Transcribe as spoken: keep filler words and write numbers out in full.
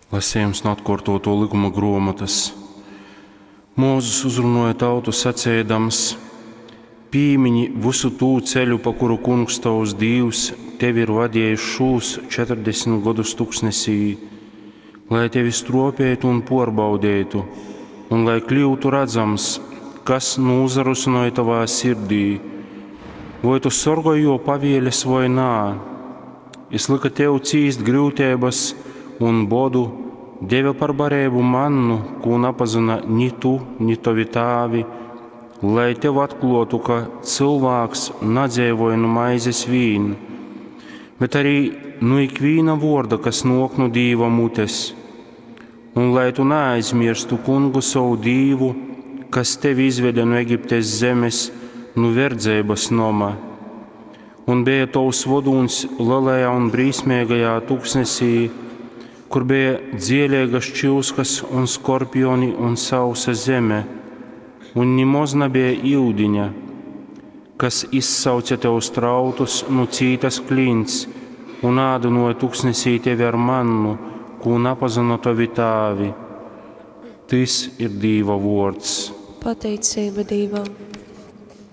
Lasījums no atkārtoto likuma grāmatas. Mūzus uzrunāja tautu sacēdams: Pīmiņi visu tū ceļu, pa kuru kungs tavs Dīvs tevi ir vadījis šūs četrdesmit gadus tuksnesī, lai tevi stropētu un pārbaudētu, un lai kļūtu redzams, kas nūzarusināja tavā sirdī, voi tu sorgoji jo pavieles vai nā. Es lika tev cīst grūtības un bodu, deva par barību mannu, ko napazina ni tu, ni tavi tēvi, lai tev atklātu, ka cilvēks nedzīvoja nu maizes vīn, bet arī nu ikviena vorda, kas nok no Dīva mutes, un lai tu neaizmirstu kungu savu Dīvu, kas tevi izveda no Egiptes zemes, no verdzības noma, un bija tavs vodūns lielajā un brīsmīgajā tuksnesī, kur bija dzielīgas čūskas un skorpioni un sausa zeme, un nemaz nebija iudiņa, kas izsauca tev strautus no cītas klints un ādinoja tuksnesī tevi ar mannu, ko napazina tavi tēvi. Tis ir Dīva vārds. Pateicība Dīvam!